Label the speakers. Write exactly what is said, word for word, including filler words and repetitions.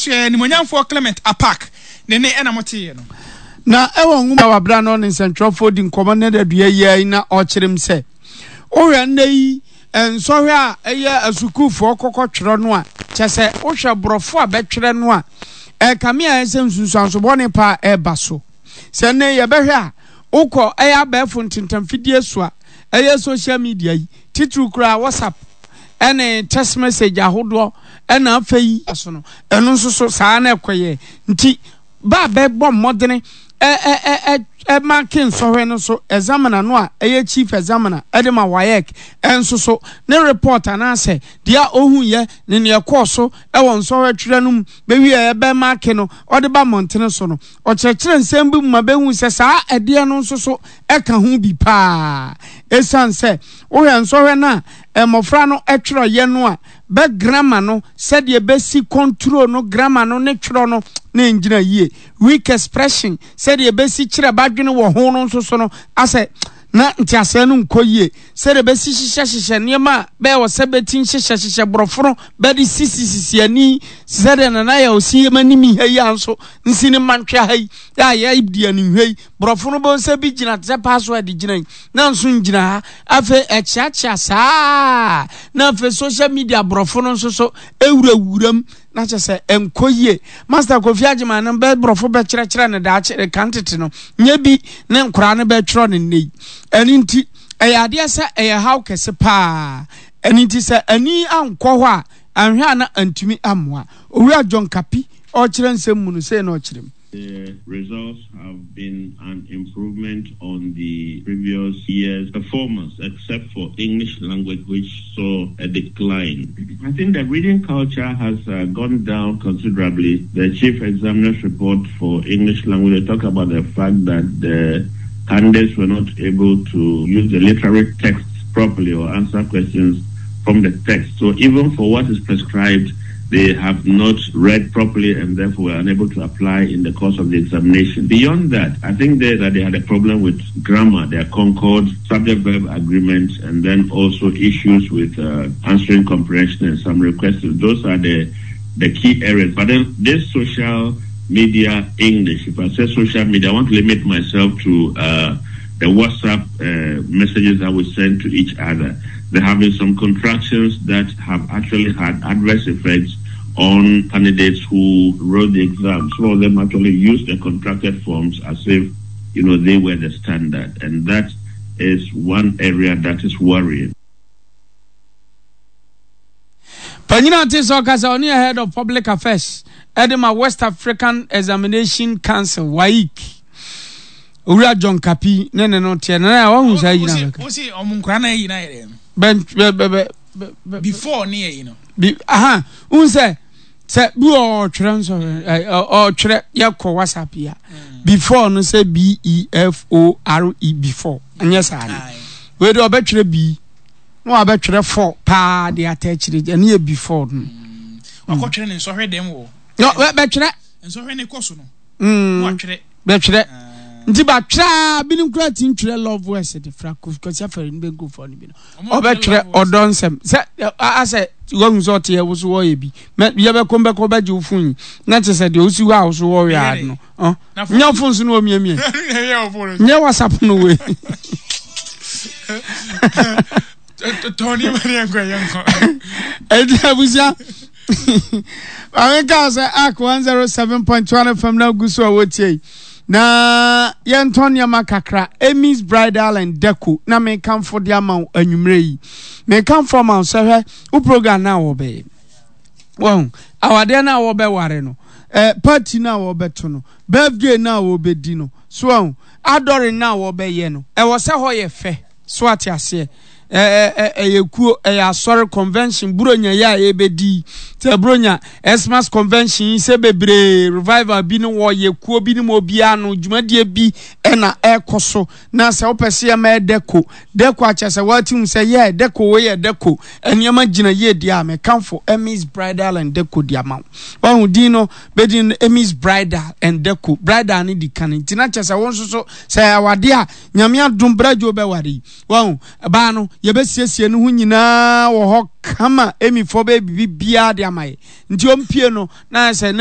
Speaker 1: So yɛ Nimonyamfoɔ Clement Apaak ne ne ɛna moteeɛ no.
Speaker 2: Na ɛwɔ nwoma a wabra na ɔne nsɛntwerɛfoɔ di nkɔmmɔ ne da dua yi ara yi na ɔkyerɛ mu sɛ, wohwɛ nnɛ yi nsɔhwɛ a ɛyɛ asukuufoɔ kɔkɔtwerɛ no a, kyɛ sɛ wohwɛ borɔfo a bɛtwerɛ no a, ɛkame ayɛ sɛ nsunsuanso bɔne paa ɛreba so. Sɛ nnɛ yi yɛbɛhwɛ a, wokɔ ɛyɛ abɛɛfo ntentamfidie so a, ɛyɛ social media yi, titiriw koraa WhatsApp ɛne text message ahodoɔ ɛna afei so no, ɛno nso so saa na ɛkɔyɛ. Nti ba a bɛbɔ mmɔdene ɛ ɛ ɛ ɛ ɛmake nsɔhwɛ no so examiner no a ɛyɛ chief examiner ɛde ma WAEC ɛnso so ne report anaasɛ deɛ a ɔhuiɛ ne neɛ ɛkɔɔ so ɛwɔ nsɔhwɛ twerɛ no mu bɛwie ɛbɛmake no ɔde ba mmɔntene so no, ɔkyerɛkyerɛ nsɛm bi mu ma bɛhu sɛ saa ɛdeɛ no nso so ɛka ho bi paa. Ɛsiane sɛ wohwɛ nsɔhwɛ no a mmɔfra no twerɛeɛ no a, bɛ grammar no sɛdeɛ bɛsi control no grammar no ne twerɛ no na ɛngyina yie. Weak expression sɛdeɛ bɛsi kyerɛ b'adwene wɔ ho no nso so no asɛ na nteaseɛ no nkɔ yie. Sɛdeɛ bɛsi hyehyɛ hyehyɛ nneɛma a bɛyɛ wɔ sɛ bɛti nhyehyɛ hyehyɛ borɔfo no bɛde sisi sisi ani sɛdeɛ Nana yɛ ɔsi yɛ m'anim ha yi a nso nsi ne mantwea ha yi a yɛdi animhwɛ yi borɔfo no bɛhu sɛ bi gyina te sɛ password gyina yi na nso ngyina ha afei ɛkyeakyea saa na afei social media borɔfo no nso so ewurawuram na kyɛ sɛ ɛnkɔ yie. Master Kofi Agyeman no bɛ borɔfo bɛkyerɛkyerɛ no daakye kan tete no nyɛ bi ne nkoraa no bɛtwerɛ no nnɛ yi. Ɛno nti ɛyɛ adeɛ sɛ ɛyɛ haw kɛse paa. Ɛno nti sɛ ani ankɔ hɔ a anhwɛ a na antumi ammoa. Owura John Kapi ɔrekyerɛ nsɛm mu no sei na ɔkyerɛ mu.
Speaker 3: The results have been an improvement on the previous year's performance, except for English language, which saw a decline. I think the reading culture has uh, gone down considerably. The chief examiner's report for English language talk about the fact that the candidates were not able to use the literary texts properly or answer questions from the text. So even for what is prescribed, they have not read properly and therefore were unable to apply in the course of the examination. Beyond that, I think they, that they had a problem with grammar, their concord, subject-verb agreement, and then also issues with uh, answering comprehension and summary questions. Those are the, the key areas. But then this social media English, if I say social media, I want to limit myself to uh, the WhatsApp uh, messages that we send to each other. There have been some contractions that have actually had adverse effects on candidates who wrote the exam. Some of them actually used the contracted forms as if, you know, they were the standard. And that is one area that is worrying.
Speaker 2: Panyin a ɔte sɛ ɔkasa ɔne yɛ head of public affairs ɛde ma West African Examination Council WAEC Owura John Kapi ne ne no teɛ na na wahu saa yi na bɛka.
Speaker 1: Wosi ɔmo nkora na ayi na yɛ dɛ.
Speaker 2: Bɛn bɛ bɛ bɛ bɛ.
Speaker 1: Before ne yɛ yi no.
Speaker 2: Bi aha n sɛ sɛ bi wɔ ɔtwerɛ nso ɛ ɔtwerɛ yɛ kɔ WhatsApp yi a mm. before no sɛ B E F O R E before nyɛ saa no wei de ɔbɛtwerɛ B na wabɛtwerɛ four paa de ata akyire ɛne yɛ before no.
Speaker 1: Mm. Wakɔtwerɛ ne nsɔhwɛ dɛm wɔ.
Speaker 2: Bɛtwerɛ.
Speaker 1: Nsɔhwɛ ne kɔ so no.
Speaker 2: Mm. Bɛtwerɛ. Nti batwerɛ a binom koraa ti ntwerɛ love words de fra Kwasi Afari no bɛnkurɔfoɔ no bi no ɔbɛtwerɛ ɔdɔ nsɛm sɛ asɛ wahu sɛ ɔte ɛwo so wɔyɛ bi yɛbɛkɔ mbɛkɔ bɛgye wo fon yi na kyerɛ sɛ deɛ wosi hɔ a wo so wɔyɛ a no nyɛ fon so no wɔmiamia nyɛ WhatsApp no wei
Speaker 1: tɔn ne nkɔ yɛ nkɔ
Speaker 2: ɛdi abusua maame kaa sɛ Ark one zero seven point one F M na gu so a wɔtie yi na yɛntɔn nneɛma kakra. Amy's Bridal and Deco na mekamfo de ama wo anwummerɛ yi. Mekamfo ama wo sɛ hwɛ wo program no a wɔbɛyɛ, wɔn awadeɛ no a wɔbɛware no, eh, party no a wɔbɛto no, birthday no a wɔbɛdi no, so wɔn adɔre no a wɔbɛyɛ no, ɛwɔ sɛ hɔ yɛ fɛ. So ate aseɛ? Ɛyɛ kuo, ɛyɛ asɔre convention, buronya yi a yɛbɛdi yi, sɛ buronya Xmas convention yi sɛ bebree revival bi no wɔyɛ kuo bi no mu obiara no dwumadie bi ɛna ɛkɔ so na sɛ wopɛ sɛ yɛma yɛ dɛko dɛko akyɛ sɛ wɔate hu sɛ yɛ dɛko wei yɛ dɛko nneɛma gyina yie deɛ a mekamfo Emmy's Bridal and Deco de ama wo. Wahu din no bɛdin no Emmy's Bridal and Deco, bridal no di kan nti na kyɛ sɛ wo nso so sɛ awadeɛ a Nyame adom bradwo bɛware yi wahu baa no yɛbɛsiesie no ho nyinaa wɔ hɔ kama. Emmyfoɔ bɛyɛ biribi biara de ama yɛ nti ɔmpie no na sɛ na